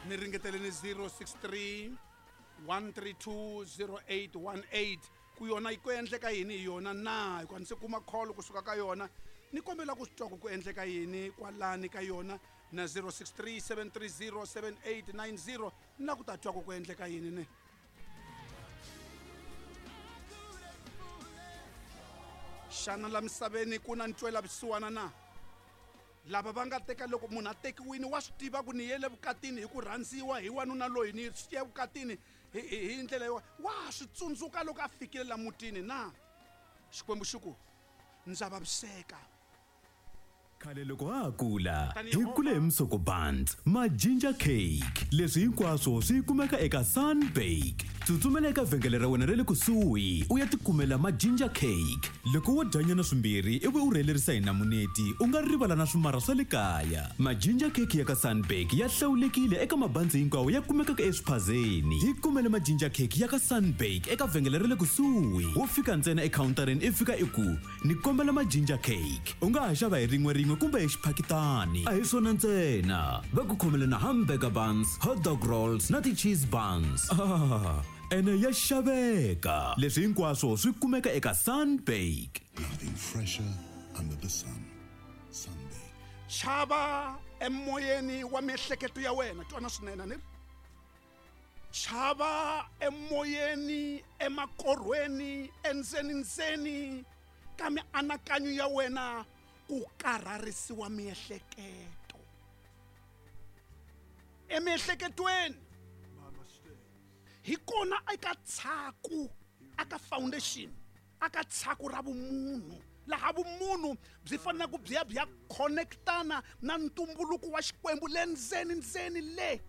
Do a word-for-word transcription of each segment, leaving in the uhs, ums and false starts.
Ni ringeteleni zero six three one three two zero eight one eight ku yona yi ku endleka yini hi yona na hikuva ni se kuma call kusuka ka yona ni kombela ku swi twa ku ku endleka yini kwalani ka yona na zero six three seven three zero seven eight nine zero ni la ku ta twa ku ku endleka yini ne. Xana la misaveni ku na ntwela vusiwana na? Lava va nga teka loko munhu a tekiwini wa swi tiva ku ni yele vukatini hi ku rhandziwa hi wanuna loyi ni ye vukatini hi hi ndlela yo wa swi tsundzuka loko a fikile la mutini na Xikwembu xi ku ndza vaviseka. Khale loko ha ha kula hi kule hi Msoko Buns ma ginger cake leswi hinkwaswo swi kumeka eka Sunbake. Tsutsumela eka vhengele ra wena ra le kusuhi u ya tikumela ma ginger cake. Loko wo dya nyana swimbirhi ivi u rhelerisa hi namuneti u nga rivala na swimara swa le kaya. Ma ginger cake ya ka Sunbake ya hlawulekile eka mabanzi hinkwawo ya kumekaka eswiphazeni. Hi kumele ma ginger cake ya ka Sunbake eka vhengele ra le kusuhi. Wo fika ntsena ekhawuntareni i fika i ku ni kombela ma ginger cake. U nga ha xava hi rin'we rin'we kumbe hi xiphakitani. A hi swona ntsena, va ku khomele na hamburger buns, hot dog rolls na ti-cheese buns. Ah, ene ya xaveka. Leswi hinkwaswo swi kumeka eka Sunbake. Nothing fresher under the sun. Sunbake. Chava emoyeni wa miehleketo ya wena, twana swinene ni ri. Chava emoyeni, emakorhweni, endzeni ndzeni ka mianakanyo ya wena ku karharisiwa miehleketo. Emiehleketweni hi kona eka tshaku aka foundation aka tshaku ra vumunhu laha vumunhu byi faneleke byi ya byi ya connectana na ntumbuluko wa Xikwembu le ndzeni ndzeni le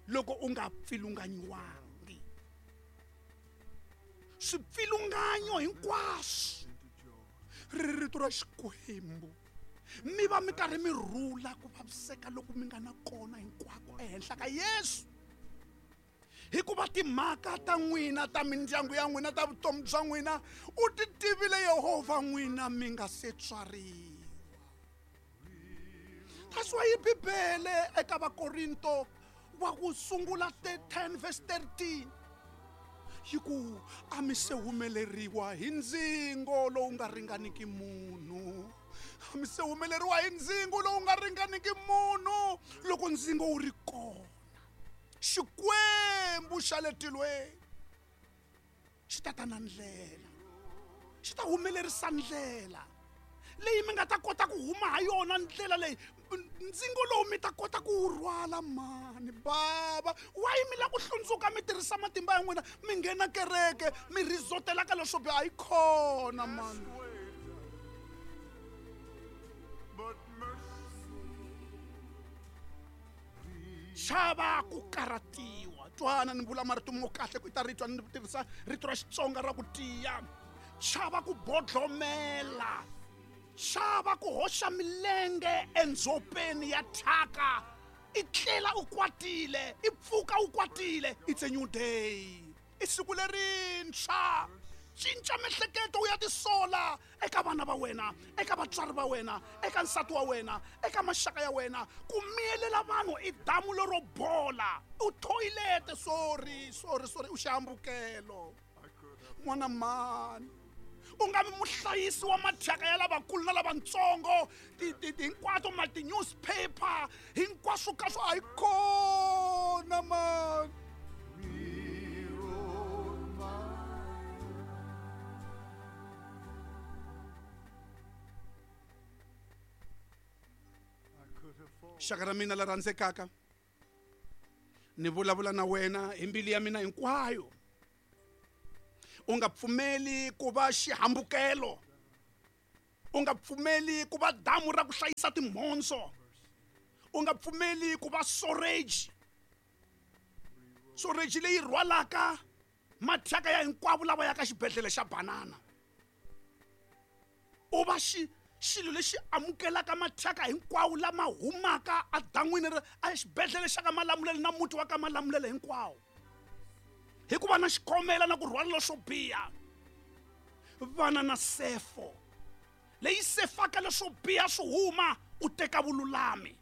loko u nga pfilunganyiwangi. Swipfilunganyo hinkwaswo ri rito ra Xikwembu mi va mi karhi mi rhula ku vaviseka loko mi nga na kona hinkwako ehenhla ka Yesu. Hikuva timhaka ta n'wina ta mindyangu ya n'wina ta vutomi bya n'wina u ti tivile Yehovha n'wina mi nga se tswariwa. That's why Bibele eka Vakorinto wa ku sungula ten verse thirteen yi ku a mi se humeleriwa hi ndzingo lowu nga ringaniki munhu. A mi se humeleriwa hi ndzingo lowu nga ringaniki munhu loko ndzingo wu ri kona. Xikwembu xa le tilweni xi ta ta na ndlela, xi ta humelerisa ndlela leyi mi nga ta kota ku huma ha yona, ndlela leyi ndzingo lowu mi ta kota ku wu rhwala. Mani bava why mi lava ku hlundzuka mi tirhisa matimba ya n'wina mi nghena kereke mi rizotela ka leswo biha? Yi kona mani. Chava ku karhatiwa. Twana ni vula marito mo kahle ku ta ri twa ni tirhisa rito ra Xitsonga ra ku tiya. Chava ku bodlomela. Chava ku hoxa milenge endzhopeni ya thyaka. I tlela u kwatile, i pfuka u kwatile. It's a new day. I siku lerintshwa. Cinca miehleketo u ya tisola eka vana va wena, eka vatswari va wena, eka nsati wa wena, eka maxaka ya wena. Ku miyelela vanhu i damu lero bola. U thoyilete, sorry, sorry, sorry, u xihambukelo. N'wana mani, u nga vi muhlayisi wa mathyaka ya lavakulu na lavatsongo, hinkwato ma ti-newspaper hinkwaswo ka swo a yi kona mani. Xaka ra mina la rhandzekaka, ni vulavula na wena hi mbilu ya mina hinkwayo. U nga pfumeli ku va xihambukelo, u nga pfumeli ku va damu ra ku hlayisa timhondzo, u nga pfumeli ku va storage storage leyi rhwalaka mathyaka ya hinkwavo lava yaka xibedhlele xa banana. U va xi xilo lexi amukelaka mathyaka hinkwawo lama humaka edan'wini ra exibedhlele xa ka Malamulele na muti wa ka Malamulele hinkwawo. Hikuva na xikhomela na ku rhwala leswo biha, vana na sefo leyi sefaka leswo biha swi huma u teka vululami.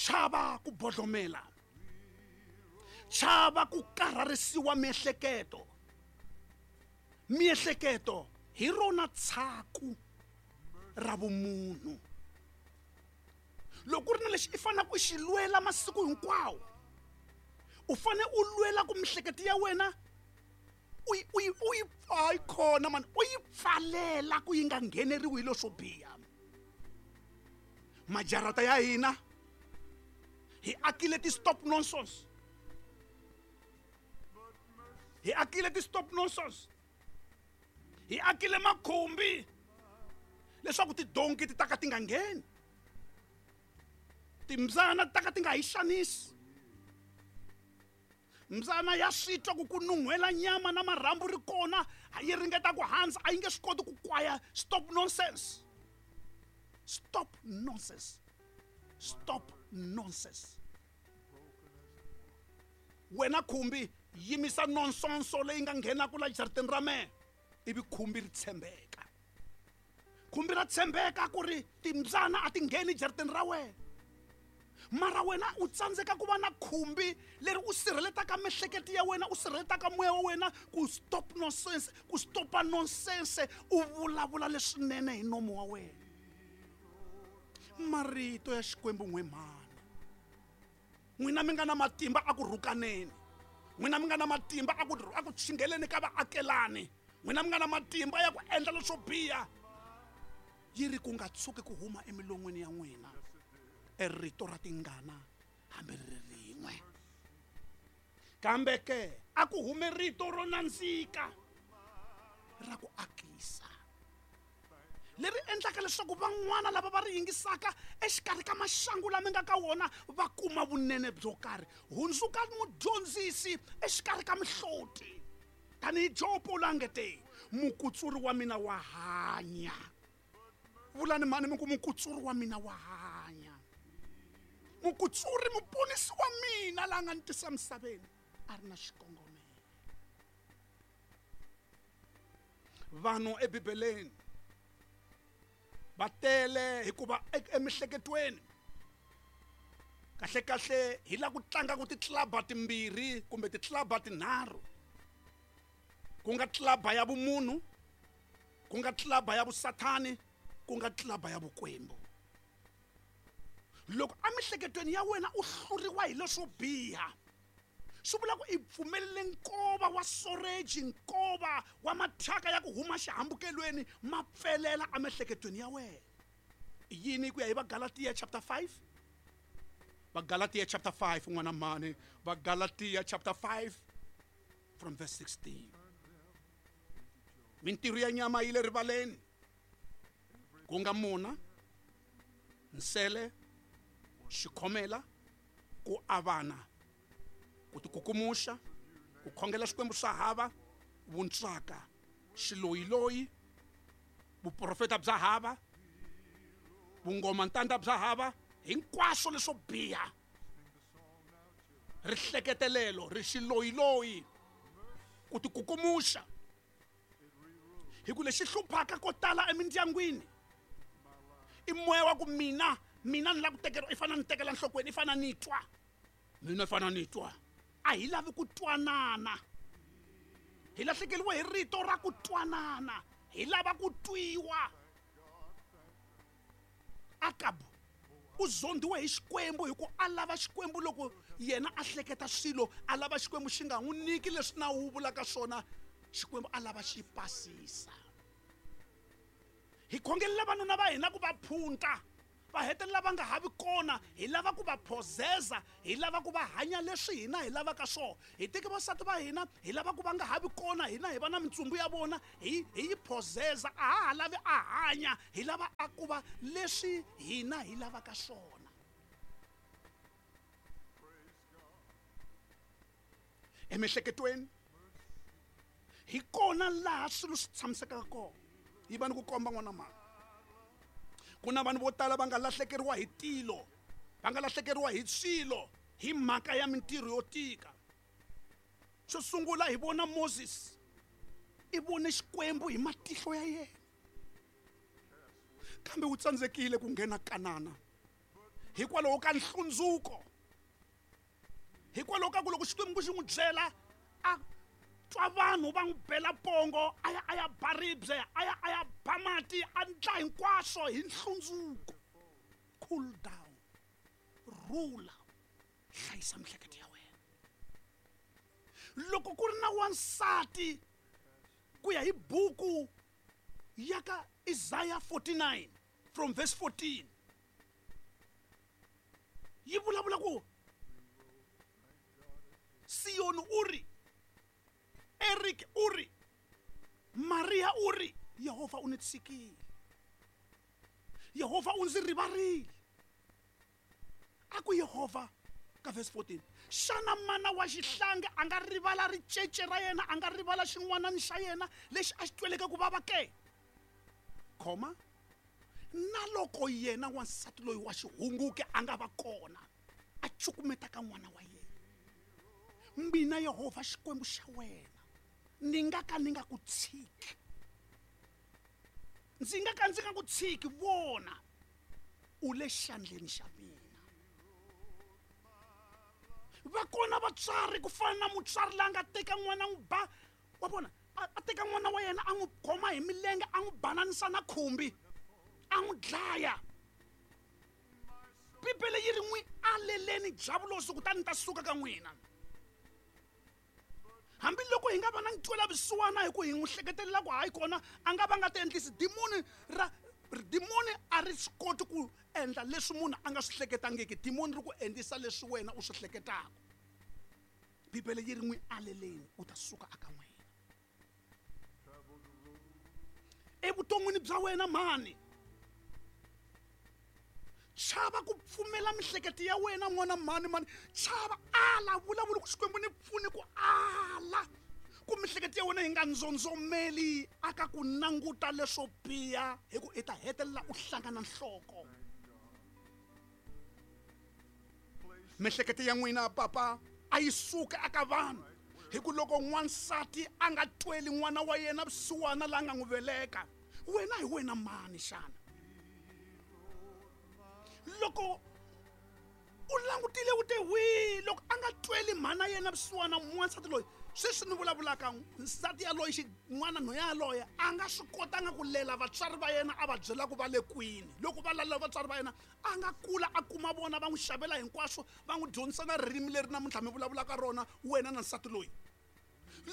Chava ku bodlomela. Chava ku karharisiwa miehleketo. Miehleketo hi rona tshaku ra vumunhu. Loko ku ri na lexi i faneleke u xi lwela masiku hinkwawo, u fanele u lwela ku miehleketo ya wena u yi u yi u yi hayi khona mani u yi pfalela ku yi nga ngheneriwi hi leswo biha. Majarata ya hina hi akile ti-stop nonsense. Hi akile ti-stop nonsense. Hi akile makhumbi leswaku tidonki ti ta ka ti nga ngheni. Timbyana ti ta ka ti nga hi xanisi. Mbyana ya swi twa ku ku nun'hwela nyama na marhambu ri kona, yi ringeta ku handza, a yi nge swi koti ku kwaya. Stop nonsense. Stop nonsense. Stop nonsense. Wena khumbi yimisa nonsense leyi nga nghenaka la jarateni ra mehe, ivi khumbi ri tshembeka. Khumbi ra tshembeka ku ri timbyana a ti ngheni jarateni ra wena. Mara wena u tsandzeka ku va na khumbi leri u sirheletaka miehleketo ya wena, u sirheletaka moya wa wena ku stop nonsense, ku stopa nonsense, u vulavula leswinene hi nomo wa wena. Marito ya Xikwembu n'we mhani. N'wina mi nga na matimba a ku rhukaneni. N'wina mi nga na matimba a ku a ku chingeleni ka vaakelani. N'wina mi nga na matimba ya ku endla leswo biha. Yi ri ku nga tshuki ku huma emilon'weni ya n'wina e rito ra tingana hambi ri ri rin'we. Kambe ke a ku hume rito ro nandzika ra ku akisa, leri endlaka leswaku van'wana lava va ri yingisaka exikarhi ka maxangu lama nga ka wona va kuma vunene byo karhi. Hundzuka mudyondzisi exikarhi ka mihloti. Tanihi Jobo la nge te, mukutsuri wa mina wa hanya. Vulani mhani mi ku mukutsuri wa mina wa hanya. Mukutsuri muponisi wa mina la nga ni tisa misaveni a ri na xikongomelo. Vanhu eBibeleni va tele hikuva emiehleketweni kahle kahle hi la ku tlangaka titlaba timbirhi kumbe titlaba tinharhu, ku nga tlaba ya vumunhu, ku nga tlaba ya vusathani, ku nga tlaba ya vukwembu. Loko emiehleketweni ya wena u hluriwa hi leswo biha, swi vula ku i pfumelele nkova wa soreji, nkova wa mathyaka ya ku huma xihambukelweni ma pfelela emiehleketweni ya wena. I yini ku ya hi Vagalatiya chapter five? Vagalatiya chapter five, n'wana mhani. Vagalatiya chapter five from verse sixteen. Mintirho ya nyama yi le rivaleni, ku nga mona, nsele, xikhomela, ku avana, ku tikukumuxa, ku khongela swikwembu swa hava, vuntswaka, xiloyiloyi, vuprofeta bya hava, vungoma ntanda bya hava, hinkwaswo leswo biha, rihleketelelo, ri xiloyiloyi, ku tikukumuxa. Hi ku lexi hluphaka ko tala emindyangwini i moya wa ku mina mina ni lava ku tekeriwa, i fanele ni tekela nhlokweni, i fanele ni twa mina, i fanele ni twa. A hi lavi ku twanana, hi lahlekeriwe hi rito ra ku twanana, hi lava ku twiwa. Akabu u zondiwe hi Xikwembu hi ku a lava Xikwembu loko yena a hleketa swilo, a lava Xikwembu xi nga n'wi nyiki leswi nawu wu vulaka swona, Xikwembu a lava xi pasisa. Hi khongelela vanuna va hina ku va phunta, va hetelela va nga ha vi kona, hi lava ku va phozeza, hi lava ku va hanya leswi hina hi lavaka swona. Hi teke vasati va hina, hi lava ku va nga ha vi kona, hina hi va na mintsumbu ya vona, hi hi yi phozeza, a ha ha lavi a hanya, hi lava a ku va leswi hina hi lavaka swona. Emiehleketweni hi kona laha swilo swi tshamisekaka kona. Yi va ni ku komba n'wana mhani, ku na vanhu vo tala va nga lahlekeriwa hi tilo, va nga lahlekeriwa hi swilo hi mhaka ya mintirho yo tika. Xo sungula hi vona Moses, i vone Xikwembu hi matihlo ya yena, kambe u tsandzekile ku nghena Kanana Hikwalaho ka nhlundzuko. Hikwalaho ka ku loko Xikwembu xi n'wi byela a twa vanhu va n'wi bela pongo a ya a ya ba ribye a ya a ya ba mati a ndla hinkwaswo hi nhlundzuko. Cool down, rula, hlayisa miehleketo ya wena. Loko ku ri na wansati ku ya hi buku ya ka Isaiah forty-nine from verse fourteen yi vulavula ku Sion uri, Eric uri, Maria uri, Yehovha u ni tshikile, Yehovha u ndzi rivarile. A ku Yehovha ka verse fourteen, xana mana wa xihlangi a nga rivala ricece ra yena, a nga rivala xin'wanani xa yena lexi a xi tweleke ku vava ke? Khoma na loko yena wansati loyi wa xihunguke a nga va kona a cukumeta ka n'wana wa yena, mina Yehovha Xikwembu xa wena ni nga ka ni nga ku tshiki, ndzi nga ka ndzi nga ku tshiki. Vona, u le xandleni xa mina. Va kona vatswari ku fana na mutswari la nga teka n'wana n'wi ba wa vona a teka n'wana wa yena a n'wi khoma hi milenge a n'wi bananisa na khumbi a n'wi dlaya. Bibele yi ri n'wi aleleni diyavulosi kutani ta suka ka n'wina. Hambi loko hi nga va na ntwela vusiwana hi ku hi n'wi hleketelela ku hayi kona a nga va nga ti endlisi dimoni ra dimoni a ri swi koti ku endla leswi munhu a nga swi hleketangiki. Dimoni ri ku endlisa leswi wena u swi hleketaka. Bibele yi ri n'wi aleleni u ta suka aka n'wina. Evuton'wini bya wena mhani, chava ku pfumela mihleketo ya wena n'wana mhani mhani, chava ala vulavula ku Xikwembu ni pfuni ku ala ku mihleketo ya wena yi nga ndzondzomeli aka ku languta leswo biha, hi ku i ta hetelela u hlangana nhloko. Mihleketo ya n'wina papa a yi suka aka vanhu, hi ku loko n'wansati a nga tweli n'wana wa yena vusiwana la nga n'wi veleka, wena hi wena mani xana? Loko u langutile u te wi loko a nga tweli mhana yena vusiwana n'wansati loyi sweswi ni vulavulaka nsati yaloye xin'wana nhwenya yaloye a nga swi kotanga ku lela vatswari va yena a va byela ku va le kwini. Loko va lalela vatswari va yena a nga kula a kuma vona va n'wi xavela hinkwaswo va n'wi dyondzisa na ririmi leri namuntlha mi vulavulaka rona wena na nsati loyi.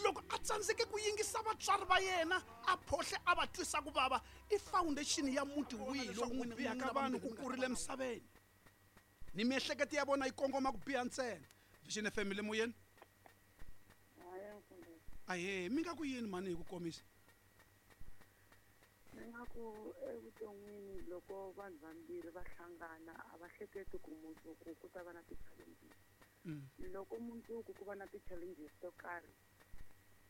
Loko a tsandzeke ku yingisa vatswari va yena a phohle a va twisa ku vava, i foundation ya muti wihi lowu n'wina biha ka vanhu ku kurile emisaveni ni miehleketo ya vona yi kongoma ku biha ntsena. Vision F M le moyeni. Ahe, mi nga ku yini mhani hi ku komisa? Ni nga ku evuton'wini loko vanhu vambirhi va hlangana a va hleketi ku mundzuku ku ta va na ti-challenges. Loko mundzuku ku va na ti-challenges to karhi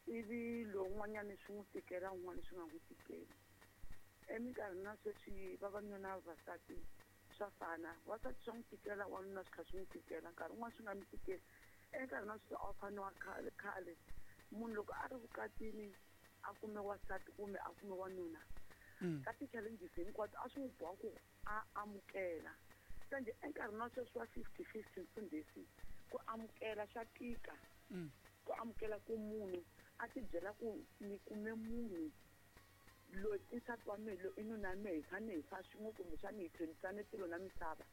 ivi lowun'wanyana swi n'wi tikela un'wana swi nga n'wi tikeli. Eminkarhini ya sweswi vavanuna na vavasati swa fana, wansati swa n'wi tikela wanuna swi kha swi n'wi tikela, nkarhi wun'wana swi nga n'wi tikeli. Enkarhini wa sweswi a wu fani wa khale khale munhu loko a ri vukatini a kume wansati kumbe a kume wanuna ka ti-challenges hinkwato a swi n'wi boha ku a amukela. Kambe enkarhini wa sweswi wa fifty fifty mfundhisi ku amukela swa tika, ku amukela ku munhu a ti byela ku ni kume munhu loyi i nsati wa mehe loyi i nuna wa mehe hi fanele hi fa swin'we kumbexana hi tlhelisane tilo na misava.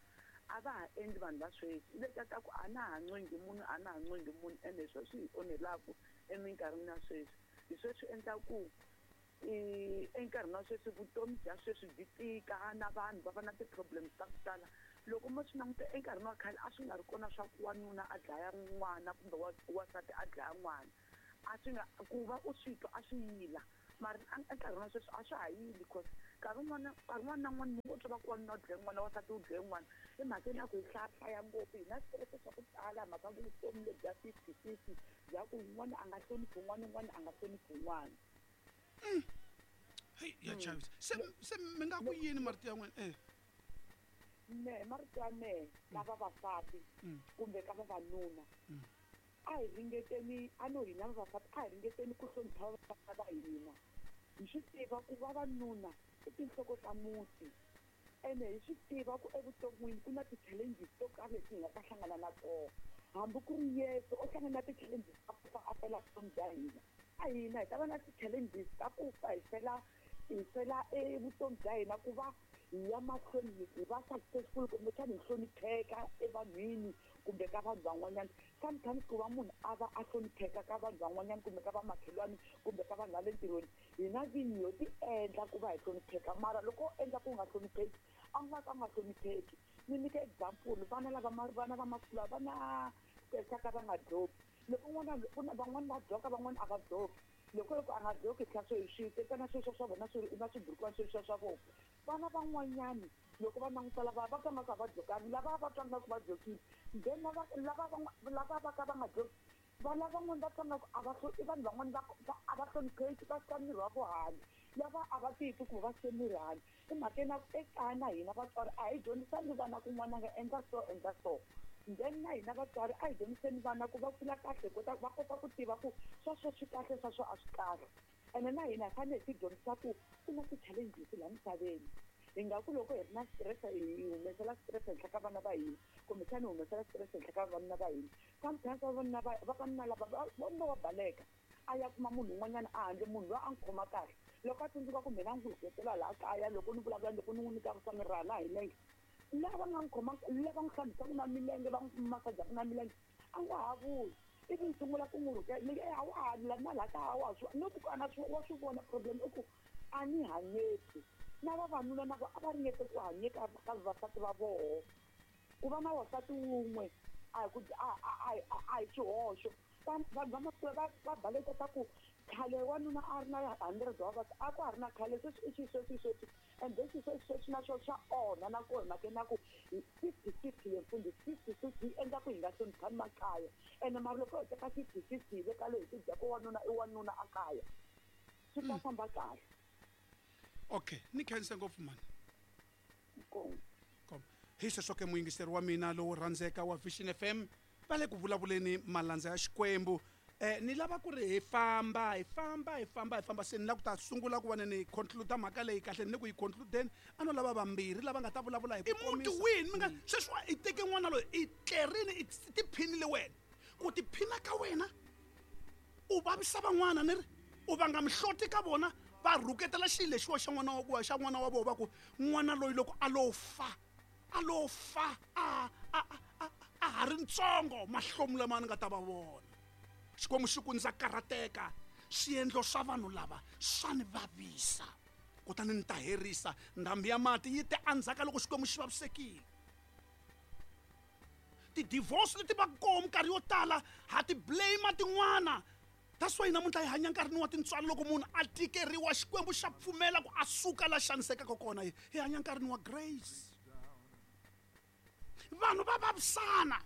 A va ha endli vanhu va sweswi leta ta ku a na ha ncengi munhu a na ha ncengi munhu ene hi sweswi hi onhelaku eminkarhini ya sweswi. Hi sweswi endla ku enkarhini wa sweswi vutomi bya sweswi byi tika na vanhu va va na ti-problems ta ku tala. Loko mo swi languta enkarhini wa khale a swi nga ri kona swa ku wanuna a dlaya n'wana kumbe wansati a dlaya n'wana, a swi nga ku va u swi twa a swi yila, mara enkarhini wa sweswi a swa ha yili cause nkarhi wun'wana nkarhi wun'wana na wun'wana munhu u twa va ku wanuna u dlaye n'wana wansati u dlaye n'wana. I mhaka ya ku hi hlayahlaya ngopfu, hi na switirese swa ku tala mhaka vutomi lebyi bya fifty fifty bya ku un'wana a nga hloniphi un'wana un'wana a nga hloniphi un'wana. Heyi ya chavisa. Se se mi nga ku yini marito ya n'wina? Eh mehe marito ya mehe ka vavasati kumbe ka vavanuna a hi ringeteni a no hina vavasati a hi ringeteni ku hlonipha vavasati va hina. Hi swi tiva ku vavanuna i tinhloko ta muti Ene hi swi tiva ku evuton'wini ku na ti-challenges to karhi leti hi nga ta hlangana na tona. Hambi ku ri Yesu o hlangana na ti-challenges ta ku fa a fela vutomi bya hina. A hina hi ta va na ti-challenges ta ku fa hi fela hi fela evutomi bya hina ku va hi ya mahlweni hi va successful kumbexana hi hlonipheka evanhwini kumbe ka vanhu van'wanyana. Sometimes ku va munhu a va a hlonipheka ka vanhu van'wanyana kumbe ka vamakhelwani kumbe ka vanhu va le ntirhweni, hina vinyi ho ti endla ku va hi hlonipheka, mara loko u endla ku nga hlonipheki a nga ka nga hlonipheki. Ni nyika example, vana lava vana va masiku lawa va na xa ka va nga dloki. Loko n'wana van'wani va dloka van'wani a va dloki. Loko loko a nga dloki tlhela swi swi tekana sweswo swa vona swi na swiburukwana sweswo swa vona. Vana van'wanyani loko va languta lava va twa nga ku a va dlokangi, lava va twa nga ku va dlokile, then lava lava lava va ka va nga dloki, vana van'wani va twa nga ku a va i vanhu van'wani va a va hlonipheki, va sika miri wa vo handle, lava a va titwi ku va sike miri handle. I mhakeni ya ku ekaya na hina vatswari a hi dyondzisani vana ku n'wana nga endla so endla so. Then na hina vatswari a hi dyondziseni vana ku va kula kahle kota va kota ku tiva ku sweswo swi kahle sweswo a swi kahle. Ene na hina hi fanele hi ti dyondzisa ku ku na ti-challenges laha misaveni. Hi nga ku loko hi ri na stress hi humesela stress henhla ka vana va hina kumbexana hi humesela stress henhla ka vavanuna va hina. Sometimes vavanuna va vavanuna lava va wa baleka a ya kuma munhu un'wanyana a handle, munhu loyi a n'wi khoma kahle. Loko a tsundzuka ku mina n'wi hlohletela laha kaya loko ni vulavula loko ni n'wi nyika swa miraha na hi nenge, lava nga n'wi khoma lava n'wi hlambisaka na milenge va n'wi masajaka na milenge a nga ha vuyi. Ivi ni sungula ku n'wi rhukela ni a wa ha na laha kaya wa swi no ku a na swi wa swi vona problem i ku a ni hanyeki. Na vavanuna na vo a va ringete ku hanyeka ka vavasati va voho. Ku va na wansati wun'we a hi ku a a a hi xihoxo. Vanhu va masiku va va baleka ta ku khale wanuna a ri na hundred wa vavasati a ku ha ri na khale, sweswi i xisweswi sweswi and then xisweswi sweswi na swona swa onha na kona mhakeni ya ku fifty fifty ya mfundhisi fifty fifty yi endla ku hi nga hloniphani makaya. Ene mara loko hi teka fifty fifty hi veka loyi hi ti byela ku wanuna i wanuna a kaya swi ta famba kahle. Okay, ni khense ngopfu mani. Inkomu. Hi sweswo ke muyingiseri wa mina lowo rhandzeka wa Vision F M va le ku vulavuleni malandza ya Xikwembu. Eh ni lava ku ri hi famba hi famba hi famba hi famba se ni lava ku ta sungula ku va ni conclude mhaka leyi kahle ni ku yi concludeni a no lava vambirhi lava nga ta vulavula hi ku komisa. I muti wihi mi nga sweswi i teke n'wana loyi i tlerini i tiphinile wena ku tiphina ka wena u vavisa van'wana ni ri u vanga mihloti ka vona va rhuketela xilo lexiwa xa n'wana wa xa n'wana wa vona va ku n'wana loyi loko a lo fa a lo fa a a a a ha ri ntsongo mahlomu lama ni nga ta va vona. Xikwembu xi ku ndza karhateka swiendlo swa vanhu lava swa ni vavisa kutani ni ta herisa ndhambi ya mati yi te endzhaku ka loko Xikwembu xi vavisekile. Ti-divorce leti va koho minkarhi yo tala ha ti blame tin'wana. That's why namuntlha hi hanya nkarhini wa tintswalo loko munhu a tikeriwa Xikwembu xa pfumela ku a suka la xanisekaka kona. Hi hanya nkarhini wa grace. Vanhu va vavisana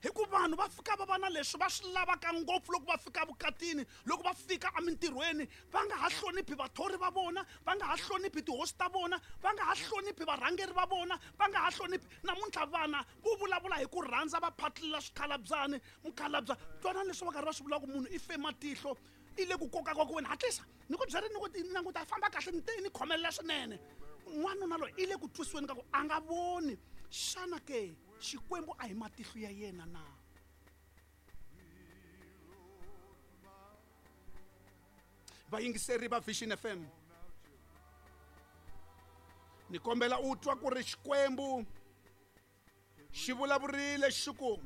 hi ku vanhu va fika va va na leswi va swi lavaka ngopfu loko va fika vukatini, loko va fika emintirhweni va nga ha hloniphi vathori va vona, va nga ha hloniphi tihosi ta vona, va nga ha hloniphi varhangeri va vona, va nga ha hloniphi. Namuntlha vana vo vulavula hi ku rhandza va phatlulela swikhalabyani mukhalabya twanani leswi va karhi va swi vulaka ku munhu i fe matihlo i le ku kokaka ku wena hatlisa ni ku byeri ni ku languta famba kahle ni te ni khomelela swinene. N'wanuna loyi i le ku twisiweni ka ku a nga voni. Xana ke Xikwembu a hi matihlo ya yena na? Vayingiseri va Vision F M, ni kombela u twa ku ri Xikwembu xi vulavurile xi ku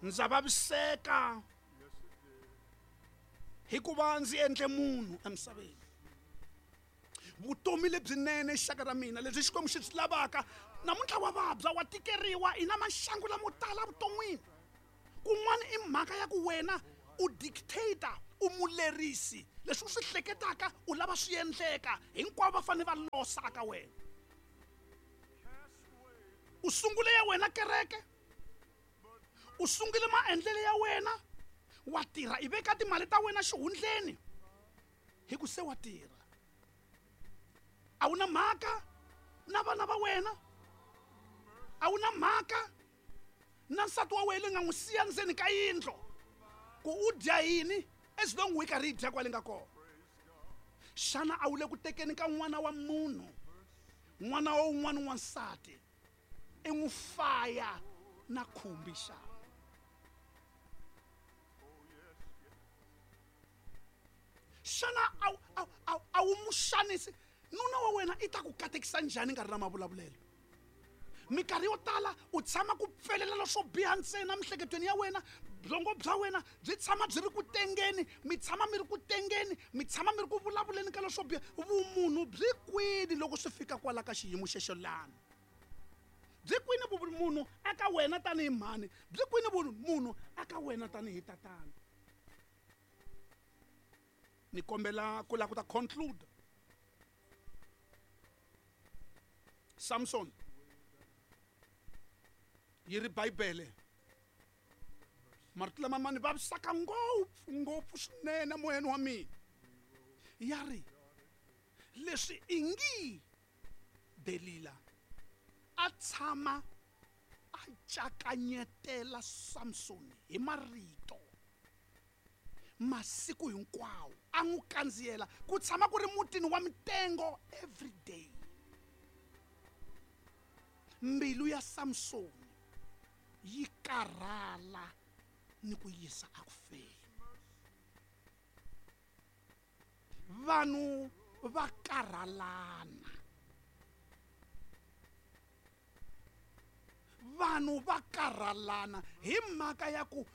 ndza vaviseka hikuva ndzi endle munhu emisaveni. Vutomi lebyinene xaka ra mina lebyi Xikwembu xi byi lavaka namuntlha wa vabya wa tikeriwa i na maxangu lamo tala vuton'wini. Kun'wana i mhaka ya ku wena u dictator u mulerisi leswi u swi hleketaka u lava swi endleka hinkwavo va fanele va losa ka wena. U sungule ya wena kereke, u sungule maendlelo ya wena, wa tirha i veka timali ta wena xihundleni hi ku se wa tirha. A wu na mhaka na vana va wena, a wu na mhaka na nsati wa wena nga n'wi siya ndzeni ka yindlu ku u dya yini as long u yi karhi yi dya kwale nga kona. Xana a wu le ku tekeni ka n'wana wa munhu N'wana wa un'wana wansati i n'wi faya na khumbi xana? Xana a a a wu mu xanisi nuna wa wena i ta ku katekisa njhani nkarhi na mavulavulelo? Minkarhi yo tala u tshama ku pfelela swo biha ntsena miehleketweni ya wena, byongo bya wena byi tshama byi ri ku tengeni, mi tshama mi ri ku tengeni, mi tshama mi ri ku vulavuleni ka leswo biha. Vumunhu byi kwini loko swi fika kwala ka xiyimo xexo lani? Byi kwini vumunhu aka wena tanihi mhani? Byi kwini vumunhu aka wena tanihi tatana? Ni kombela ku lava ku ta conclude. Samson yi ri Bibele marito lama ma ni vavisaka ngopfu ngopfu swinene moyeni wa mina. Ya ri leswi ingi Delila a tshama a cakanyetela Samson hi marito masiku hinkwawo, a n'wi kandziyela ku tshama ku ri mutini wa mitengo every day. Mbilu ya Samson yi karhala ni ku yisa akufeni. Vanhu va karhalana, vanhu va karhalana hi mhaka ya ku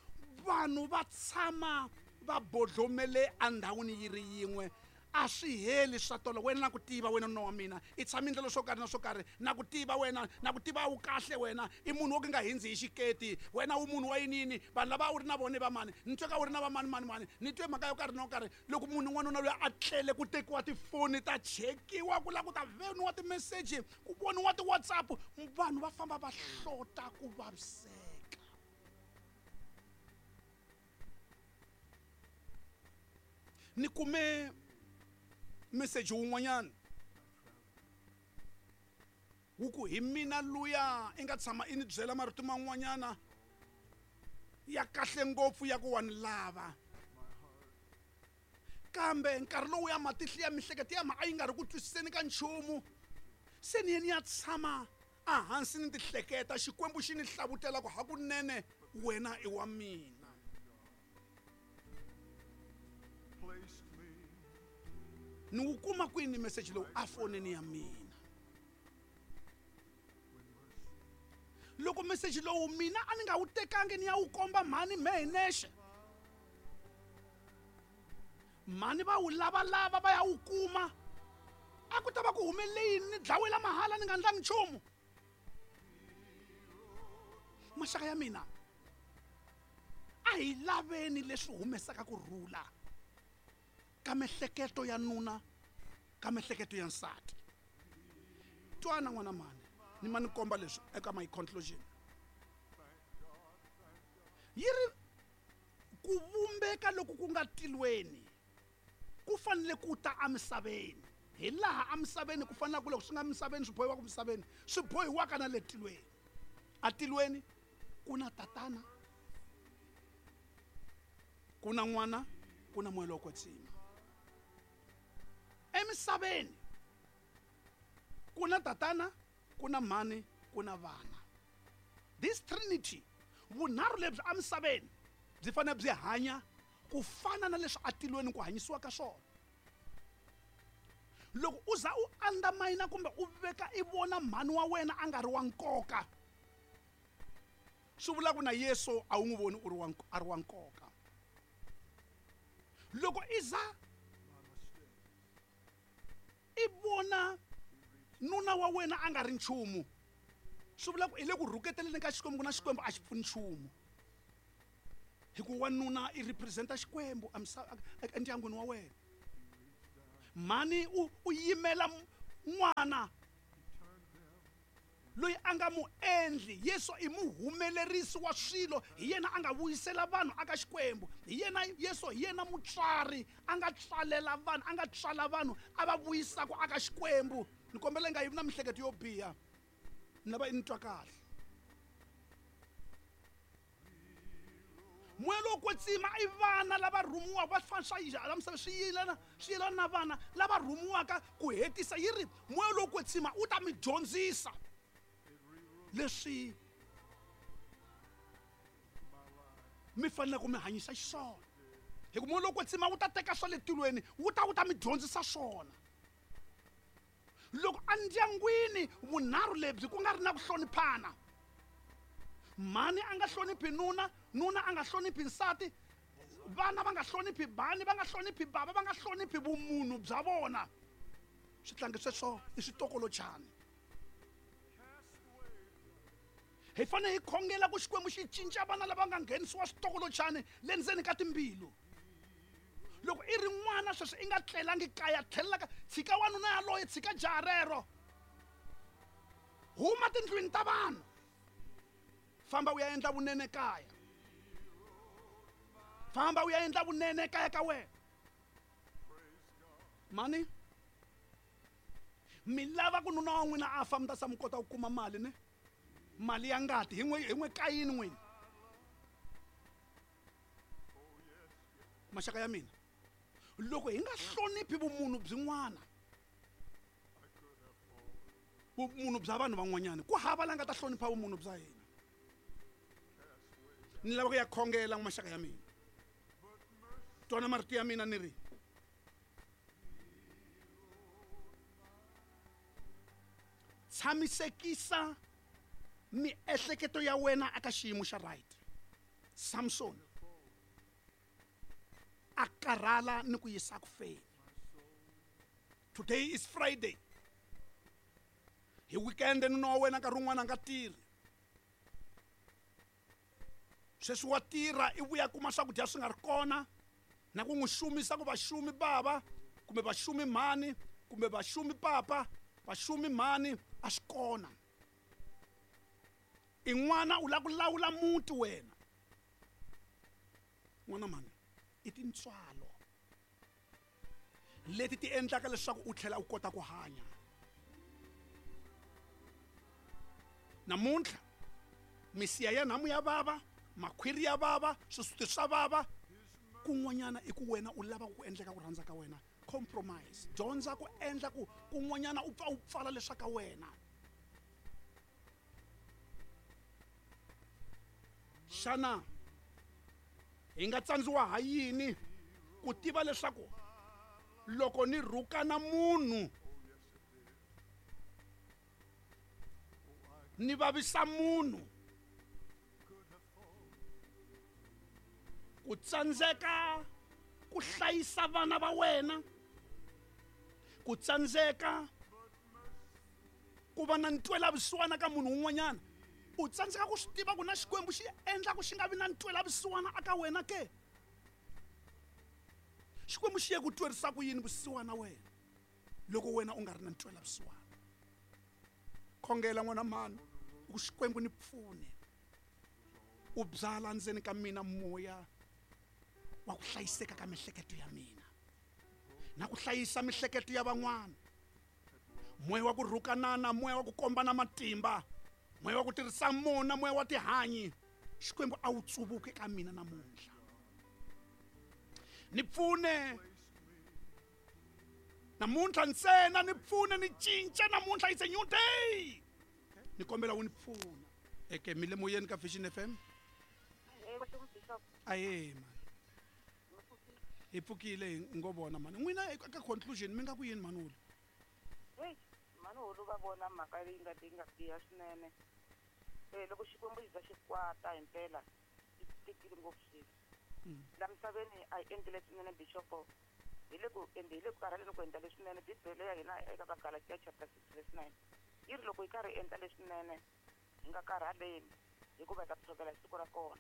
vanhu va tshama va bodlomele endhawini yi ri yin'we. A swi heli swa tolo. Wena na ku tiva wena nuna wa mina i tshama ndlela swo karhi na swo karhi, na ku tiva wena, na ku tiva wu kahle wena i munhu wo ka nga hindzi hi xiketi, wena u munhu wa yinini, vanhu lava a wu ri na vona i va mani, ni twe ka wu ri na va mani mani mani, ni twe mhaka yo karhi na yo karhi. Loko munhu n'wanuna loyi a tlele ku tekiwa tifoni ta chekiwa, ku lava ku ta voniwa timeseji, ku voniwa ti-WhatsApp, vanhu va famba va hlota ku vaviseka. Ni kume meseji wun'wanyana wu ku hi mina luya i nga tshama i ni byela marito man'wanyana ya kahle ngopfu ya ku wa ni lava, kambe nkarhi lowu ya matihlo ya mihleketo ya ma a yi nga ri ku twisiseni ka nchumu. Se ni ye ni ya tshama ehansi ni tihleketa, Xikwembu xi ni hlavutela ku hakunene wena i wa mina. Ni wu kuma kwini meseji lowu a fonini ya mina? Loko meseji lowu mina a ni nga wu tekangi ni ya wu komba mhani mehe nexe, mhani va wu lavalava va ya wu kuma, a ku ta va ku humelele yini? Ni dlawela mahala ni nga ndlangi nchumu. Maxaka ya mina, a hi laveni leswi humesaka ku rhula ka mihleketo ya nuna, ka mihleketo ya nsati. Twana n'wana mhani, ni ma ni komba leswi eka my conclusion. Yi ri ku vumbeka loku ku nga tilweni ku fanele ku ta emisaveni, hi laha emisaveni ku fanele ku loko swi nga misaveni swi bohiwaka misaveni swi bohiwaka na le tilweni. Atilweni ku na tatana, ku na n'wana, ku na moya lowo kwetsima. Emisaveni ku na tatana, ku na mhani, ku na vana. This trinity, vunharhu lebyi emisaveni byi fanele byi hanya ku fana na leswi atilweni ku hanyisiwa ka swona. Loko u za u undermine kumbe u veka i vona mhani wa wena a nga ri wa nkoka, swi vula ku na Yesu a wu n'wi voni u ri wa a ri wa nkoka. Loko i za i vona nuna wa wena a nga ri nchumu, swi vula ku i le ku rhuketeleni ka Xikwembu, na Xikwembu a xi pfuni nchumu, hikuva wanuna i representa Xikwembu endyangwini wa wena. Mhani u u yimela n'wana loyi a nga mu endli. Yesu i muhumelerisi wa swilo, hi yena a nga vuyisela vanhu aka Xikwembu. Hi yena Yesu, hi yena mutswari a nga tswalela vanhu, a nga tswala vanhu a va vuyisaka aka Xikwembu. Ni kombela i nga yivi na mihleketo yo biha, ni lava i ni twa kahle. Moya lowo kwetsima i vana lava rhumiwaka va fana swa la misava swi yelana swi yelana na vana lava rhumiwaka ku hetisa. Yi ri moya lowo kwetsima wu ta mi dyondzisa leswi mi fanele ku mi hanyisa xiswona. Hi ku moya lowo kwetsima wu ta teka swa le tilweni wu ta wu ta mi dyondzisa swona. Loko endyangwini vunharhu lebyi ku nga ri na ku hloniphana, mhani a nga hloniphi nuna, nuna a nga hloniphi nsati, vana va nga hloniphi bani, va nga hloniphi bava, va nga hloniphi vumunhu bya vona, switlangi sweswo i switokolochani. Hi fanele hi khongela ku Xikwembu xi cinca vana lava nga nghenisiwa switokolochani le ndzeni ka timbilu. Loko i ri n'wana sweswi i nga tlelangi kaya, tlhelela ka tshika wanuna yaloye, tshika jaha rero, huma tindlwini ta vanhu, famba u ya endla vunene kaya, famba u ya endla vunene kaya ka wena. Mani mi lava ku nuna wa n'wina a fa mi ta sa mi kota ku kuma mali ne mali ya ngati hi n'we hi n'we kayini n'wina. Maxaka ya mina, loko hi nga hloniphi vumunhu byin'wana, vumunhu bya vanhu van'wanyana, ku hava la nga ta hlonipha vumunhu bya hina. Ni lava ku ya khongela maxaka ya mina, twana marito ya mina ni ri tshamisekisa miehleketo ya wena eka xiyimo xa right. Samson a karhala ni ku yisa ku feni. Today is Friday. Hi weekend nuna wa wena nkarhi wun'wana a nga tirhi, sweswi wa tirha i vuya kuma swakudya swi nga ri kona, na ku n'wi xumisa ku vaxumi bava kumbe vaxumi mhani kumbe vaxumi papa vaxumi mhani a swi kona. I n'wana u lava ku lawula muti wena. N'wana mhani, i tintswalo leti ti endlaka leswaku u tlhela u kota ku hanya. Namuntlha misiha ya nhamu ya vava, makhwiri ya vava, swisuti swa vava, kun'wanyana i ku wena u lava ku endleka ku rhandza ka wena. Compromise, dyondza ku endla ku kun'wanyana u pfa u pfala leswa ka wena. Xana hi nga tsandziwa ha yini ku tiva leswaku loko ni rhukana munhu ni vavisa munhu, ku tsandzeka ku hlayisa vana va wena, ku tsandzeka ku va na ntwelavusiwana ka munhu un'wanyana, u tsandzeka ku swi tiva ku na Xikwembu xi endla ku xi nga vi na ntwelavusiwana aka wena ke? Xikwembu xi ye ku twerisa ku yini vusiwana wena loko wena u nga ri na ntwelavusiwana? Khongela n'wana mhani ku Xikwembu ni pfune u byala ndzeni ka mina moya wa ku hlayiseka ka mihleketo ya mina na ku hlayisa mihleketo ya van'wana, moya wa ku rhukanana, moya wa ku kombana matimba, moya wa ku tirhisa mona, moya wa tihanyi. Xikwembu a wu tsuvuke ka mina namuntlha, ni pfune namuntlha ntsena, ni pfune ni cinca namuntlha. It's a new day, ni kombela wu ni pfuna. Eke mi le moyeni ka Vision F M. Aye man, hi pfukile hi ngo vona mani n'wina eka conclusion mi nga ku yini mani wulu? Hey, mani wulu va vona mhaka leyi nga leyi nga biha swinene. Eh loko Xikwembu xi za xi kwata himpela xi tikile ngopfu swilo. La misaveni a hi endli leswinene bishop, hi le ku endli hi le ku karhaleni ku endla leswinene. Bibele ya hina eka ka Galatia chapter six verse nine yi ri loko hi karhi hi endla leswinene hi nga karhaleni hikuva hi ta tshovela siku ra kona.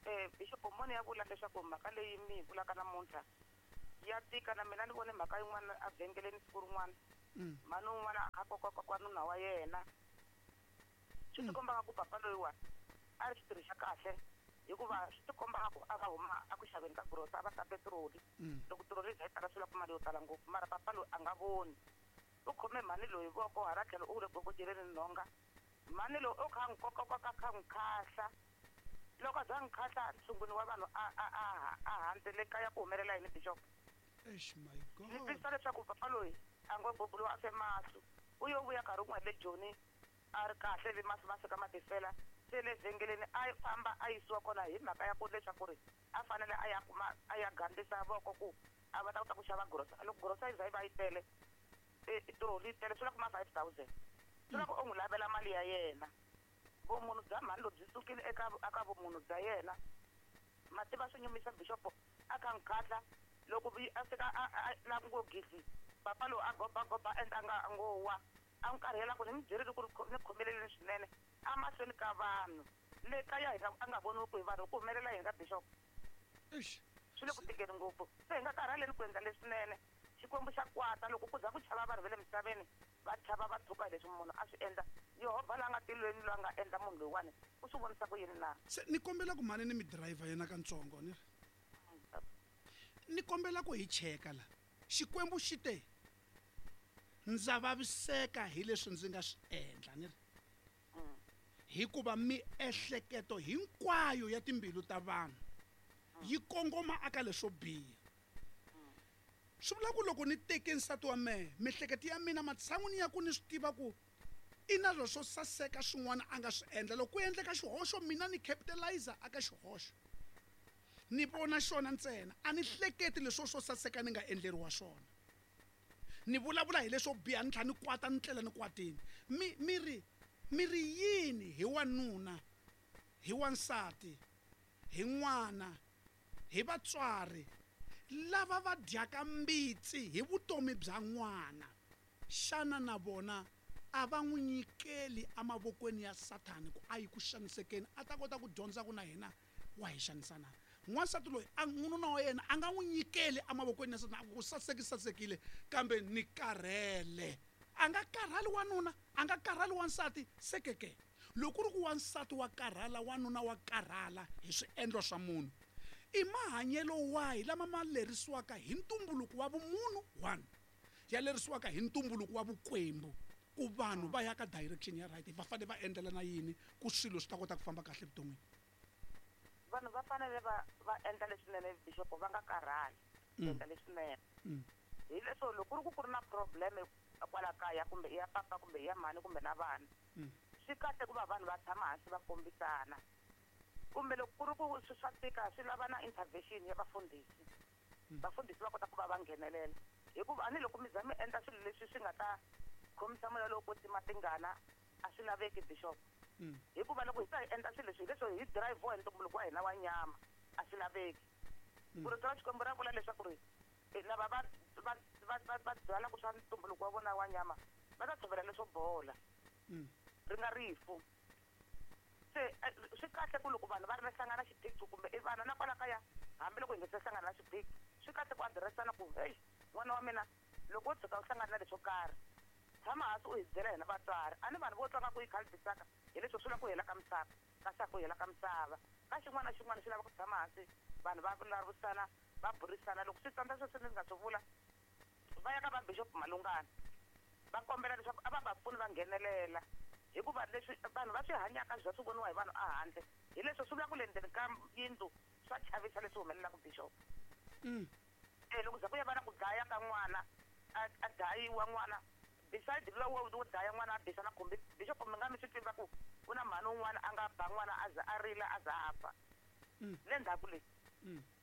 Eh bishop moni ya vula leswaku mhaka leyi mi hi vulaka namuntlha ya tika. Na mina ni vone mhaka yin'wana evhengeleni siku rin'wana, mhani un'wana a koka nuna wa yena, swi tikomba ku papa loyiwa a ri xitirhi xa kahle, hikuva swi tikomba ku a va huma a ku xaveni ka grosa a va ta petiroli. Loko tiroli yi tala swi lava mali yo tala ngopfu, mara papa loyi a nga voni, u khome mhani loyi voko hala tlhelo u le gogojeleni nhonga, mhani loyi o kha n'wi kokakoka kha n'wi khahla Loko a za n'wi khahla ntshunguni wa vanhu a a a a handzele kaya ku humelela yini bishop? Eish my god. Ni twisisa leswaku papa loyi a ngo bubuliwa a fe mahlo. U yo vuya nkarhi wun'we le Joni a ri kahle ivi masi ma fika ma tifela. Se le vhengeleni a famba a yisiwa kona hi mhaka ya ku leswaku ri a fanele a ya kuma a ya gandlisa voko ku a va ta kota ku xava grosa. Loko grosa yi za yi va yi tele tiroli yi tele swi la kuma five thousand. Swi la ku u n'wi lavela mali ya yena. Vumunhu bya mhani lebyi sukile eka eka vumunhu bya yena. Mativa swi nyumisa bishop a kha n'wi khahla loko a fika a la ngo gidli papa loyi a gobagoba endla nga ngo wa a n'wi karhela ku ni mi byerile ku ri ni khomeleleni swinene a mahlweni ka vanhu le kaya hi nga a nga voniwi ku hi vanhu ku humelela yini ka bishop. Eish. Swi le ku tikeni ngopfu. Se hi nga karhaleni ku endla leswinene. Xikwembu xa kwata loko ku za ku chava vanhu va le misaveni va chava va tshuka hi leswi munhu a swi endla. Yehovha la nga tilweni loyi a nga endla munhu loyiwani u swi vonisa ku yini na? Se ni kombela ku mhani ni mi driver yena katsongo ni ri. Ni kombela ku hi cheka la. Xikwembu xi te ndza vaviseka hi leswi ndzi nga swi endla ni ri. Hikuva miehleketo hinkwayo ya timbilu ta vanhu yi kongoma aka leswo biha. Swi vula ku loko ni teke nsati wa mehe miehleketo ya mina matshan'wini ya ku ni swi tiva ku i na leswo saseka swin'wana a nga swi endla. Loko ku endleka xihoxo mina ni capitalizer aka xihoxo. Ni vona xona ntsena a ni hleketi leswo swo saseka ni nga endleriwa swona. Ni vulavula hi leswo biha ni tlhela ni kwata ni tlela ni kwatini. Mi mi ri mi ri yini hi wanuna hi wansati hi n'wana hi vatswari lava va dyaka mbitsi hi vutomi bya n'wana? Xana na vona a va n'wi nyikeli emavokweni ya Sathani ku a yi ku xanisekeni a ta kota ku dyondza ku na yena wa hi xanisa na? N'wansati loyi a nuna wa yena a nga n'wi nyikeli emavokweni ya Sathani a ku saseki sasekile kambe ni karhele. A nga karhali wanuna a nga karhali wansati sekeke. Loko ku ri ku wansati wa karhala wanuna wa karhala hi swiendlo swa munhu i mahanyelo wahi lama ma lerisiwaka hi ntumbuluko wa vumunhu one ya lerisiwaka hi ntumbuluko wa vukwembu ku vanhu va ya ka direction ya right va fanele va endlela na yini ku swilo swi ta kota ku famba kahle evuton'wini? Vanhu va fanele va va endla leswinene bishop va nga karhali ku endla leswinene. Hi leswo loko ku ri ku ku ri na problem kwala kaya kumbe i ya papa kumbe i ya mhani kumbe na vana swi kahle ku va vanhu va tshama hansi va kombisana. Kumbe loko ku ri ku swi swa tika swi lava na intervention ya vafundhisi. Vafundhisi va kota ku va va nghenelela hikuva a ni loko mi za mi endla swilo leswi swi nga ta khomisa moya lowo kwetsima tingana a swi laveki bishop. Hikuva loko hi ta hi endla swilo leswi hi leswo hi drive hi ntumbuluko wa hina wa nyama a swi laveki. Ku rito ra Xikwembu ra vula leswaku ri lava va va va va va byalaka swa ntumbuluko wa vona wa nyama va ta tshovela leswo bola ri nga rifu. Se swi kahle ku loko vanhu va ri na hlangana xiphiqo kumbe i vana na kwala kaya hambiloko hi nga se hlangana na xiphiqo swi kahle ku adiressana ku hey n'wana wa mina loko wo tshuka u hlangana na leswo karhi tshama hansi u hi byela hina vatswari. A ni vanhu vo twa nga ku yi khalibisaka hi leswo swi lava ku hela ka misava kasi a ku hela ka misava ka xin'wana na xin'wana xi lava ku tshama hansi vanhu va vulavurisana va burisana. Loko swi tsandza sweswi ni nga swi vula va ya ka va bishop Malungana va kombela leswaku a va va pfuni va nghenelela hikuva leswi vanhu va swi hanyaka bya swi voniwa hi vanhu a handle hi leswo swi vula ku le ndzeni ka yindlu swa chavisa leswi humelelaka bishop. E loko za ku ya va na ku dlaya ka n'wana a dlayiwa n'wana beside lowo wo dlaya n'wana a bisa na khumbi bishop mi nga mi swi tiva ku ku na mhani un'wana a nga ba n'wana a za a rila a za a fa le ndzhaku leyi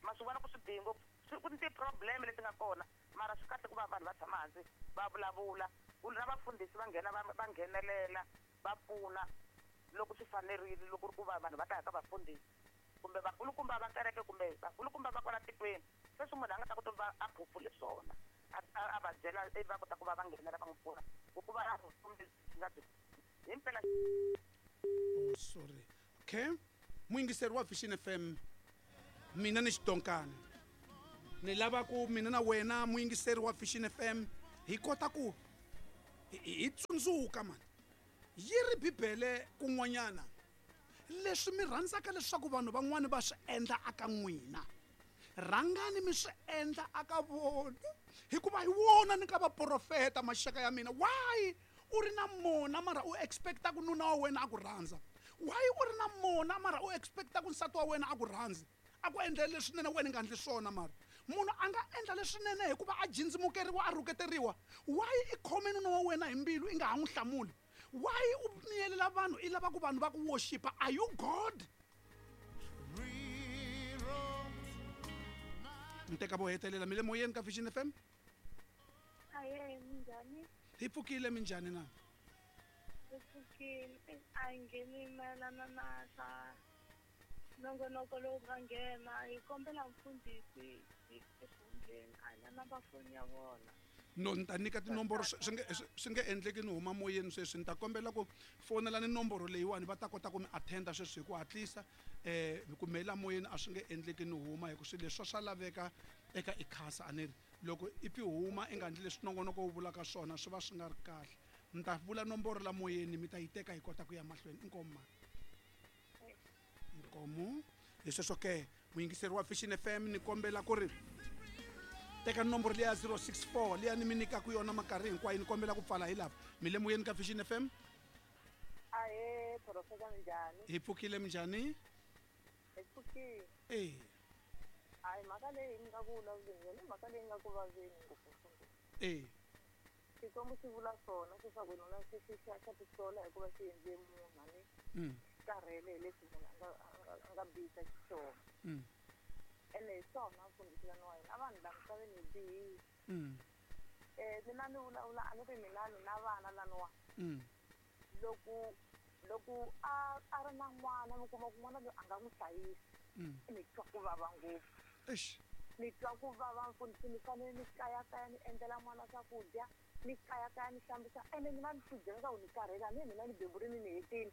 ma swi vona ku swi bihi ngopfu. Ku ni ti-problem leti nga kona mara swi kahle ku va vanhu va tshama hansi va vulavula ku na vafundhisi va nghena va va nghenelela va pfuna loko swi fanerile loko ri ku va vanhu va ta ya ka vafundhisi kumbe vakulukumba va kereke kumbe vakulukumba va kwala tikweni sweswi munhu a nga ta kota ku va a phofule swona a va byela ivi va kota ku va va nghenela va n'wi pfuna ku ku va na vutomi lebyi nga byi himpela. Oh sorry. Okay. Muyingiseri wa Vision F M mina ni xidonkana ni lava ku mina na wena muyingiseri wa Vision F M hi kota ku hi tsundzuka mani yi ri Bibele kun'wanyana leswi mi rhandzaka leswaku vanhu van'wani va swi endla aka n'wina rhangani mi swi endla aka vona hikuva hi wona ni ka vaprofeta maxaka ya mina. Why u ri na mona mara u expecta ku nuna wa wena a ku rhandza? Why u ri na mona mara u expecta ku nsati wa wena a ku rhandzi a ku endlela leswinene wena i nga endli swona mara munhu a nga endla leswinene hikuva a jindzimukeriwa a rhuketeriwa why i khome nuna wa wena hi mbilu i nga ha n'wi hlamuli why u miyelela vanhu i lava ku vanhu va ku worshipa are you god ni teka vo hetelela mi le moyeni ka Vision F M Aye, minjhani? Hi pfukile minjhani na? Hi pfukile a hi ngheni mayelana na swa nongonoko lowu nga nghena hi kombela mfundhisi hi exihundleni a hi na namba foni ya vona. No ni ta nyika tinomboro swi nge swi nge endleki ni huma moyeni sweswi ni ta kombela ku fonela ni nomboro leyiwani va ta kota ku mi attenda sweswi hi ku hatlisa um ku mela moyeni a swi nge endleki ni huma hi ku swilo leswi swa laveka eka ikhasa a ni ri loko i pfi huma i nga endli leswi nongonoko wu vulaka swona swi va swi nga ri kahle ni ta vula nomboro la moyeni mi ta yi teka hi kota ku ya mahlweni inkomu mani inkomu hi sweswo ke muyingiseri wa Vision F M ni kombela ku ri teka nomboro liya zero six four liya ni mi nyikaka yona minkarhi hinkwayo ni kombela ku pfala hi lava mi le moyeni ka Vision F M Ahe profesa minjhani hi pfukile minjhani hi pfukile e hayi mhaka leyi ni nga ku vulavuleni yona i mhaka leyi nga ku vaveni ngopfu e Xikwembu xi vula swona leswaku nuna xi xi xa xa tisola hikuva xi endle munhu a ni karhele hi leswi munhu a nga a nga bihisa xiswona ene hi swona mfundhisi lani wa hina a vanhu la misaveni hi bihile um mina ni vulavula a ni ri mina ni na vana laniwa loko loko a a ri na n'wana mi kuma ku n'wana loyi a nga n'wi hlayisi ni twa ku vava ngopfu ni twa ku vava mfundhisi ni fanele ni kayakaya ni endlela n'wana swakudya ni kayakaya ni hlambisa ene mina ni swi byela leswaku ni karhele a ni mina ni beburini ni hetile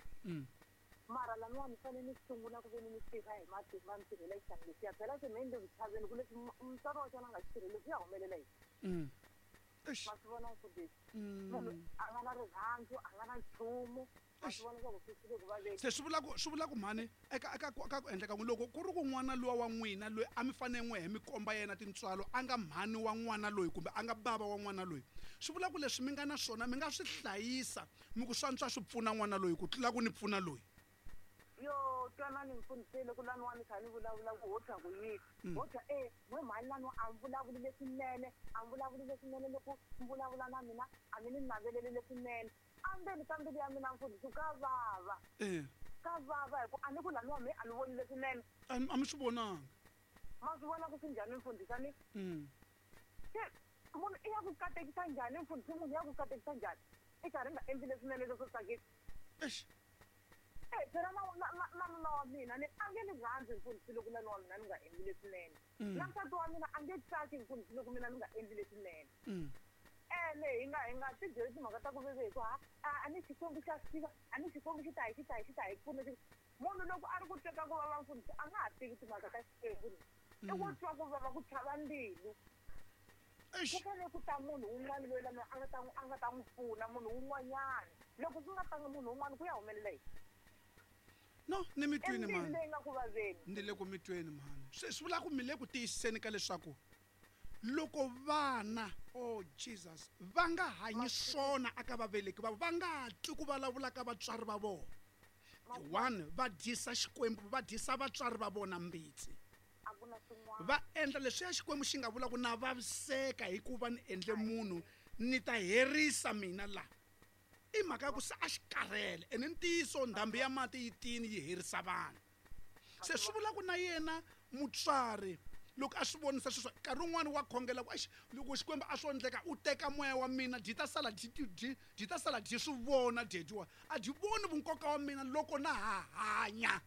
mara laniwa ni fanele ni sungula ku ve ni ni tirha hi matimba ni tirhela xihlangi lexiya phela se me ni le ku chaveni ku leswi mutswari wa xona a nga xi tirheli swi ya humelela yini ma swi vona mfundhisi munhu a nga na rirhandzu a nga na nchumu ma swi vona leswaku swi swi le ku vaveni se swi vula ku swi vula ku mhani eka eka ka ku endleka loko ku ri ku n'wana luwa wa n'wina loyi a mi fanele n'we hi mi komba yena tintswalo a nga mhani wa n'wana loyi kumbe a nga bava wa n'wana loyi swi vula ku leswi mi nga na swona mi nga swi hlayisa mi ku swantswa swi pfuna n'wana loyi ku tlula ku ni pfuna loyi yo twanani mfundhisi loko laniwa ni kha ni vulavula ku ho twa ku yini ho twa e n'we mhani laniwa a mi vulavuli leswinene a mi vulavuli leswinene loko mi vulavula na mina a mi ni naveleli leswinene endzeni ka mbilu ya mina mfundhisi ka vava ka vava hi ku a ni ku laniwa me a ni voni leswinene a mi swi vonanga ma swi vona ku swi njhani mfundhisi a ni se munhu i ya ku katekisa njhani mfundhisi munhu ya ku katekisa njhani i karhi nga endli leswinene leswo tsakisa eish e phela na na na nuna wa mina ni a nge ni rhandzi mfundhisi loko nuna wa mina ni nga endli leswinene na nsati wa mina a nge tsaki mfundhisi loko mina ni nga endli leswinene ene hi nga hi nga ti byeli timhaka ta ku veve hi ku ha a ni Xikwembu xa swi tiva a ni Xikwembu xi ta hi xi ta hi xi ta hi pfuna munhu loko a ri ku teka ku vava mfundhisi a nga ha tivi timhaka ta Xikwembu i ku twa ku vava ku chava mbilu ku fanele ku ta munhu wun'wana loyi lama a nga ta a nga ta n'wi pfuna munhu wun'wanyana loko ku nga tanga munhu wun'wana ku ya humelela yini no ni mi twini mhani leyi nga ku vaveni ni le ku mi tweni mhani swi swi vula ku mi le ku tiyisiseni ka leswaku loko vana oh Jesus va nga hanyi swona aka vaveleki va va nga twi ku vulavula ka vatswari va vona one va dyisa Xikwembu va dyisa vatswari va vona mbitsi va endla leswiya Xikwembu xi nga vula ku na vaviseka hikuva ni endle munhu ni ta herisa mina la i mhaka ya ku se a xi karhele ene ntiyiso ndhambi ya mati yi tini yi herisa vanhu se swi vula ku na yena mutswari loko a swi vonisa sweswo nkarhi wun'wani wa khongela ku exi loko Xikwembu a swo endleka u teka moya wa mina dyi ta sala dyi dyi dyi ta sala dyi swi vona dyejiwa a dyi voni vunkoka wa mina loko na ha hanya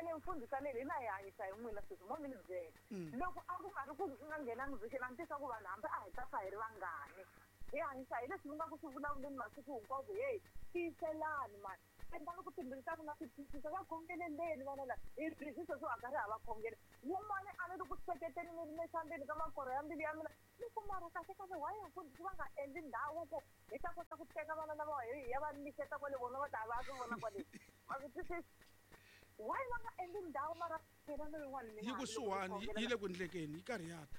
ene mfundhisi leyi hina hi hanyisa hi n'wina sweswi mo mi ni byela loko a ku nga ri ku nga nghenangi vision a ni tisa ku vanhu hambi a hi ta fa hi ri vangani hi hanyisa hi leswi mi nga ku swi vulavuleni masiku hinkwawo ku heyi tiyiselani mani endlani ku timbilu ta vona ti twisisa va khongeleleni vana lava hi busy sweswi a karhi ha va khongela wun'wani a ni ri ku hleketeni ni ri nexambeni ka makoro ya mbilu ya mina ni ku mara kahle kahle why mfundhisi va nga endli ndhawu ku hi ta kota ku teka vana lava hi ya va nyiketa kwale vona va ta va swi vona kwale ma swi twisisa why va nga endli ndhawu mara phela loyin'wana yi kusuhani yi le ku endlekeni yi karhi ya ta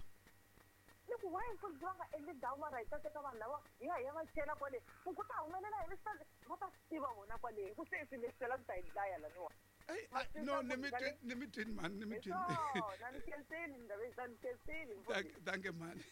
Ni ku why mfundhisi va nga endli ndhawu mara hi ta teka vanhu lava hi ya hi ya va chela kwale ku ku ta humelela yini swi ta va ta swi tiva vona kwale hi ku se swilo leswi twela ku ta hi dlaya laniwa. Ey, Ma ay, swi no tiva ni mi ku twi- ni mi twini mhani ni mi hi twini. Swona ni khensini ndhawu ni khensini Thank mfundhisi. thank you mhani.